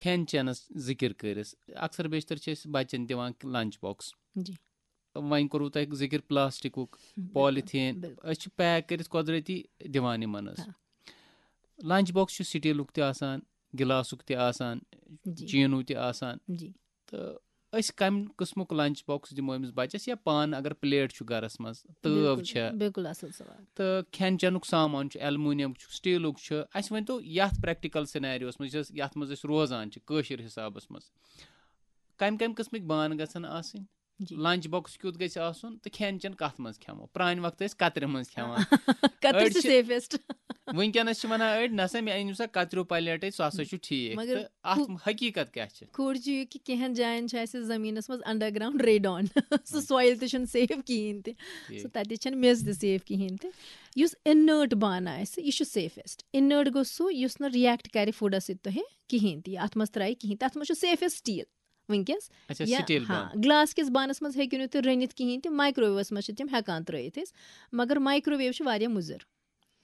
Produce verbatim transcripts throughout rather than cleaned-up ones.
کھٮ۪ن چٮ۪نَس ذِکِر کٔرِس، اکثر بیشتر چھِ أسۍ بَچَن دِوان لنچ باکس۔ جی۔ وۄنۍ کوٚروٕ تۄہہِ ذِکِر پلاسٹِکُک، بِلکُل، پالیٖتھیٖن، بِلکُل۔ أسۍ چھِ پیک کٔرِتھ قۄدرٔتی دِوان یِمَن حظ۔ ہاں۔ لنچ باکس چھُ سٹیٖلُک تہِ آسان، گِلاسُک تہِ آسان، جی۔ چیٖنوٗ تہِ آسان۔ جی۔ تہٕ أسۍ کَمہِ قٕسمُک لنچ باکس دِمو أمِس بَچَس، یا پانہٕ اگر پلیٹ چھُ گَرَس منٛز، تٲو بِلکُل، چھےٚ، بِلکُل اَصٕل سوال۔ تہٕ کھٮ۪ن چٮ۪نُک سامان چھُ، ایلومینیم چھُ، سٹیٖلُک چھُ، اَسہِ ؤنۍ تو یَتھ پریکٹیکل سینیریوَس منٛز یُس، یَتھ منٛز أسۍ روزان چھِ کٲشِر حِسابَس منٛز، کَمہِ کَمہِ قٕسمٕکۍ بانہٕ گژھن آسٕنۍ؟ جی۔ لنچ باکس کیُتھ گژھِ آسُن تہٕ کھٮ۪ن چٮ۪ن کَتھ منٛز کھٮ۪مو؟ پرٛانہِ وقتہٕ ٲسۍ کَترِ منٛز کھٮ۪وان۔ کَترِ أڑۍ چھِ چھِ سیفیسٹ۔ وٕنکیٚنَس چھِ وَنان أڑۍ، "نہ سا، مےٚ أنِو سا کَتریو پلیٹے، سُہ ہسا چھُ ٹھیٖک۔" مگر تہٕ اَتھ ہُہ- حقیٖقت کیٛاہ چھِ؟ کھوڑ چھُ یہِ کہِ کینٛہہ جاین چھُ اَسہِ زٔمیٖنَس منٛز انڈر گراؤنڈ ریڈان، سُہ سویل تہِ چھُنہٕ سیف کِہیٖنۍ تہِ، ٹھیٖک۔ سُہ تَتہِ چھَنہٕ میٚژ تہِ سیف کِہیٖنۍ تہِ۔ یُس اِنٲرٹ بانہٕ آسہِ، یہِ چھُ سیفیسٹ۔ اِنٲرٹ گوٚو سُہ، یُس نہٕ رِییکٹ کَرِ فُڈَس سۭتۍ تۄہہِ کِہیٖنۍ تہِ، یہِ اَتھ منٛز ترٛایہِ کِہیٖنۍ تہِ، اَتھ منٛز چھُ سیفیسٹ سٹیٖل۔ وٕنکیٚس اچھا، یا سٹیٖل ہاں، بانہٕ۔ گلاس کِس بانَس منٛز ہیٚکِو نہٕ تُہۍ رٔنِتھ کِہیٖنۍ تہِ، مایکروویوَس منٛز چھِ تِم ہٮ۪کان ترٛٲیِتھ أسۍ، مگر مایکروویو چھُ واریاہ مُضِر۔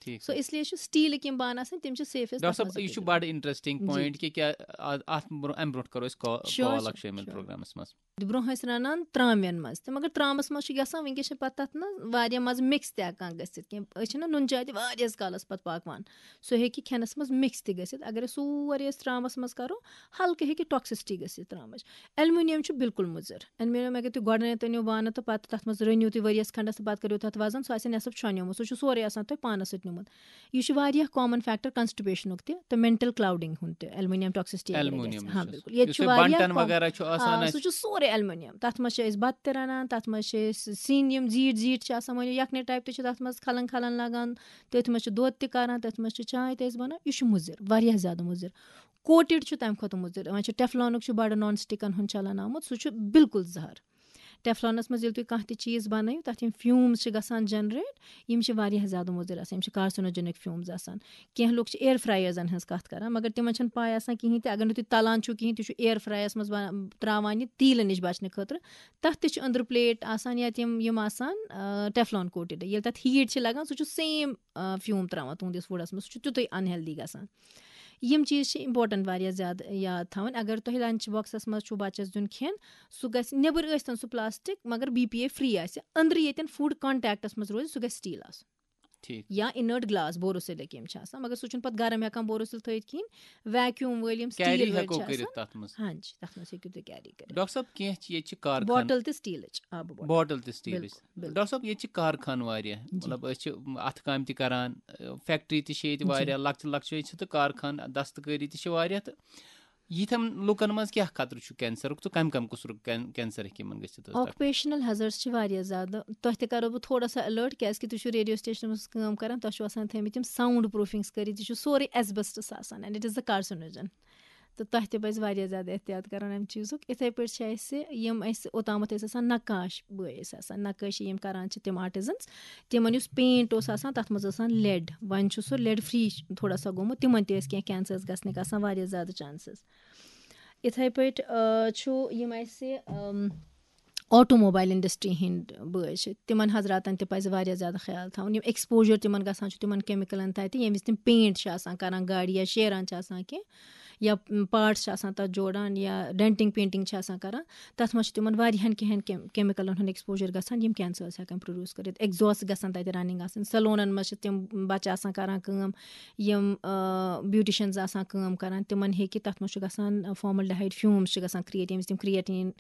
ٹھیٖک۔ سو اس لیے چھُ سٹیٖلٕکۍ یِم بانہٕ آسان، تِم چھِ سیفیسٹ۔ ڈاکٹر صٲب، یہِ چھُ بڑٕ انٹرسٹنگ جی، پوینٹ جی۔ کہِ کیٛاہ آ-، اتھ برٛونٛہہ، امہِ برٛونٛٹھ کرو أسۍ کا-، Sure، کال sure، اکھ شٲمِل sure۔ پروگرامس منٛز۔ برونٛہہ ٲسۍ رنان ترامٮ۪ن منٛز تہِ، مگر ترامس منٛز چھُ گژھان، وٕنکیٚس چھِ پتہٕ تتھ نہ واریاہ مزٕ مِکس تہِ ہٮ۪کان گٔژھِتھ کینٛہہ۔ أسۍ چھِنہ نُن چاے تہِ واریاہس کالس پتہٕ پکوان، سُہ ہیٚکہِ کھٮ۪نس منٛز مِکس تہِ گٔژھِتھ۔ اگر أسۍ سورُے أسۍ ترامس منٛز کرو، ہلکہٕ ہیٚکہِ ٹاکسسٹی گٔژھِتھ ترامٕچ۔ ایلومینیم چھُ بالکل مُضر۔ ایلومینیم اگر تُہۍ گۄڈٕنیتھ أنِو بانہٕ تہٕ پتہٕ تتھ منٛز رٔنِو تُہۍ ؤریس کھنڈس تہٕ پتہٕ کٔرِو تتھ وزن، سُہ آسہِ نٮ۪صٕف چھۄنیومُت، سُہ چھُ سورُے آسان تۄہہِ پانس سۭتۍ نیومُت۔ یہِ چھُ واریاہ کامن فیکٹر کانسٹِپیشنُک تہِ تہٕ مینٹل کلاؤڈنگ ہُنٛد تہِ، ایلومینیم ٹاکسسٹی اگر ایلومینیم گژھِ۔ ہاں، چھُ۔ بالکل۔ ییٚتہِ یُس چھُ یہِ واریاہ بنٹن کام-، وغیرہ چھُ آسان آ، اَسہِ۔ سُہ چھُ سورُے ایلومینیم۔ تَتھ منٛز چھِ أسۍ بَتہٕ تہِ رَنان، تَتھ منٛز چھِ أسۍ سِنۍ، یِم زیٖٹھۍ زیٖٹھۍ چھِ آسان، مٲنِو یَکھنہِ ٹایپ تہِ چھِ تَتھ منٛز کھَلَن کھَلَن لَگان، تٔتھۍ منٛز چھِ دۄد تہِ کَران، تٔتھۍ منٛز چھِ چاے تہِ أسۍ بَنان۔ یہِ چھُ مُضِر، واریاہ زیادٕ مُضِر۔ کوٹِڈ چھُ تَمہِ کھۄتہٕ مُضِر۔ وۄنۍ چھُ ٹیفلانُک چھُ بَڑٕ نان سٹِکَن ہُنٛد چَلان آمُت، سُہ چھُ بالکل زَہر۔ ٹیفلانَس منٛز ییٚلہِ تُہۍ کانٛہہ تہِ چیٖز بَنٲیِو، تَتھ یِم فیوٗمٕز چھِ گژھان جَنریٹ، یِم چھِ واریاہ زیادٕ مُضِر آسان، یِم چھِ کارسِنوجینک فیوٗمٕز آسان۔ کینٛہہ لُکھ چھِ ایئر فرائرزن ہٕنٛز کَتھ کران، مگر تِمن چھَنہٕ پَے آسان کِہیٖنۍ تہِ۔ اگر نہٕ تُہۍ تَلان چھِو کِہیٖنۍ، تُہۍ چھِو ایئر فرائرس منٛز بَنا-، ترٛاوان یہِ تیٖلہٕ نِش بَچنہٕ خٲطرٕ، تَتھ تہِ چھِ أنٛدرٕ پلیٹ آسان یا تِم یِم آسان، آ، ٹیفلان کوٹِڈ۔ ییٚلہِ تَتھ ہیٖٹ چھِ لَگان، سُہ چھُ سیم، آ، فیوٗم ترٛاوان تُہنٛدِس فُڈَس منٛز، سُہ چھُ تیُتُے انہیلدی گژھان۔ یِم چیٖز چھِ امپورٹنٹ واریاہ زیادٕ یاد تھاوٕنۍ۔ اگر تۄہہِ لنچ باکسَس منٛز چھُو بَچَس دیُن کھٮ۪ن، سُہ گژھِ، نیٚبٕرۍ ٲسۍ تَن سُہ پلاسٹک، مگر بی پی اے فری آسہِ، أنٛدرٕ ییٚتٮ۪ن فوڈ کانٹیکٹَس منٛز روزِ، سُہ گژھِ سٹیٖل آسُن۔ ٹھیٖک۔ یا اِنٲرٹ گلاس بوروسِلٕکۍ یِم چھِ آسان، مگر سُہ چھُنہٕ پَتہٕ گرم ہٮ۪کان بوروسِل تھٲیِتھ کِہیٖنۍ۔ ویکیوم وٲلۍ یِم کیری سٹیٖل وٲلۍ ہٮ۪کو چھِ کٔرِتھ آسان۔ تَتھ منٛز۔ ہاں جی، تَتھ منٛز ہیٚکِو تُہۍ کیری کٔرِتھ۔ ڈاکٹر صٲب، کینٛہہ چھِ ییٚتہِ چھِ کارخان۔ بوٹل تہِ سٹیٖلٕچ، آبہٕ بوٹل۔ بوٹل تہِ سٹیٖلٕچ۔ بِلکُل، بِلکُل۔ ڈاکٹر صٲب، ییٚتہِ چھِ کارخان واریاہ، جی۔ مطلب أسۍ چھِ اَتھٕ کامہِ تہِ کران، فیکٹری تہِ چھِ ییٚتہِ جی۔ واریاہ، لۄکچہِ لۄکچہِ چھِ تہٕ کارخان دستکٲری تہِ چھِ واریاہ، تہٕ یِتھٮ۪ن لُکن منٛز کیٛاہ خطرٕ چھُ کینسرُک تہٕ کَمہِ کَمہِ قٕسمُک کین-، کینسر ہیٚکہِ یِمن گٔژھِتھ حظ؟ آکوپیشنل ہیزرڈس چھِ واریاہ زیادٕ۔ تۄہہِ تہِ کرو بہٕ تھوڑا سا الرٹ، کیازِ کہِ تُہۍ چھِو ریڈیو سٹیشنس منٛز کٲم کران، تۄہہِ چھِو آسان تھٲومٕتۍ یِم ساؤنڈ پروٗفنگس کٔرِتھ، یہِ چھُ سورُے ایسبسٹس آسان، and it is the carcinogen۔ تہٕ تۄہہِ تہِ پَزِ واریاہ زیادٕ احتیاط کرُن اَمہِ چیٖزُک۔ یِتھے پٲٹھۍ چھِ اَسہِ یِم اَسہِ اوٚتامَتھ ٲسۍ آسان نقاش بٲے ٲسۍ آسان، نقٲشی یِم کران چھِ تِم آرٹِزنس، تِمن یُس پینٹ اوس آسان، تَتھ منٛز ٲس آسان لیڈ۔ وۄنۍ چھُ سُہ لیڈ فری تھوڑا سا گوٚمُت، تِمن تہِ ٲسۍ کینٛہہ کینسرس گژھنٕکۍ آسان واریاہ زیادٕ چانسز۔ یِتھے پٲٹھۍ، آ، چھُ یِم اَسہِ، آم، آٹوموبایل انڈسٹری ہٕنٛدۍ بٲے چھِ، تِمن حضراتن تہِ پَزِ واریاہ زیادٕ خیال تھاوُن۔ یِم ایکسپوجر تِمن گژھان چھُ تِمن کیمِکلن تَتہِ، ییٚمہِ وِزِ تِم پینٹ چھِ آسان کران گاڑِ یا شیران چھِ آسان کینٛہہ، یا پارٹس چھِ آسان تَتھ جوڑان یا ڈینٹنگ پینٹنگ چھِ آسان کران، تَتھ منٛز چھُ تِمن واریاہن کینٛہن کیم-، کیمِکلن ہُنٛد ایکسپوجر گژھان، یِم کینسرس ہٮ۪کان پروڈیوس کٔرِتھ۔ ایگزاسٹ گژھان تَتہِ رننگ آسان، سلونن منٛز چھِ تِم بچہٕ آسان کران کٲم، یِم، آ، بیوٹیشنز آسان کٲم کران، تِمن ہیٚکہِ تَتھ منٛز چھُ گژھان فارملڈیہائیڈ فیومز چھِ گژھان کریٹ، ییٚمہِ وِزِ تِم کریٹین،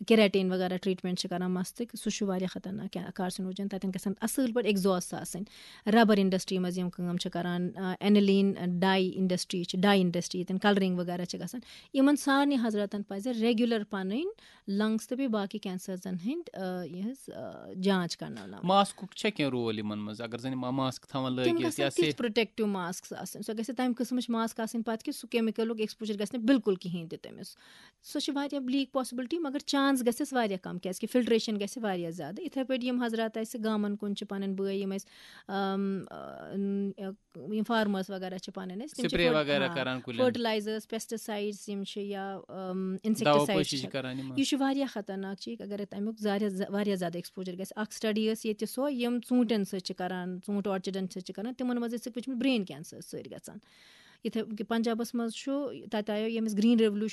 کیراٹین وغیرہ ٹریٹمنٹ چھِ کران مستٕکۍ، سُہ چھُ واریاہ خطرناک کارسینوجن۔ تَتٮ۪ن گژھن اصل پٲٹھۍ ایگزاسٹ آسٕنۍ۔ ربر انڈسٹری منٛز یِم کٲم چھِ کران، آ، اینلین ڈائی انڈسٹری چھِ، ڈائی انڈسٹری ییٚتٮ۪ن کلرنگ وغیرہ چھِ گژھان، یِمن سارنٕے حضراتن پَزِ ریگولر پَنٕنۍ لنگس تہٕ بیٚیہِ باقٕے کینسرزن ہٕنٛدۍ، آ، یِہٕنٛز، آ، جانچ کرناوناوٕنۍ۔ ماسکُک چھا کینٛہہ رول یِمن منٛز؟ اگر زَن یِم ماسک تھاوان تِم لٲگِتھ گژھن یا تِتھۍ سیف-، پروٹیکٹو ماسکس آسٕنۍ، سۄ گژھِ تَمہِ قٕسمٕچ ماسک آسٕنۍ پَتہٕ کہِ سُہ کیمِکلُک ایکسپوجر گژھِ نہٕ بالکل کِہینۍ تہِ تٔمِس۔ سۄ چھِ واریاہ لیٖک پاسبلٹی، مگر چانس گژھٮ۪س واریاہ کم، کیازِ کہِ فلٹریشن گژھِ واریاہ زیادٕ۔ یِتھے پٲٹھۍ یِم حضرات اَسہِ گامن کُن چھِ پَنٕنۍ بٲے، یِم اَسہِ، آم، آ، ن-، یِم فارمٲرس وغیرہ چھِ پَنٕنۍ اَسہِ، تِم چھِ سپرے فٔٹ-، وغیرہ ہاں، کران کُلٮ۪ن۔ فرٹیلائزرز، پیسٹیسائیڈز یِم چھِ یا، آم، دوا انسیکٹیسائیڈز پٲشی چھِ۔ چھِ کران یِمن۔ یہِ چھُ واریاہ خطرناک چیٖز، اگر تَمیُک زیادٕ، واریاہ زیادٕ ایکسپوجر گژھِ۔ اکھ سٹڈی ٲس ییٚتہِ سۄ، یِم ژوٗنٹھٮ۪ن سۭتۍ چھِ کران، ژوٗنٹھۍ آرچڈن سۭتۍ چھِ کران، تِمن منٛز ٲسۍ وٕچھمٕتۍ برین کینسر سۭتۍ گژھان۔ یِتھے کہِ پنجابس منٛز چھُ، تَتہِ آیو ییٚمِس گرین ریولوشن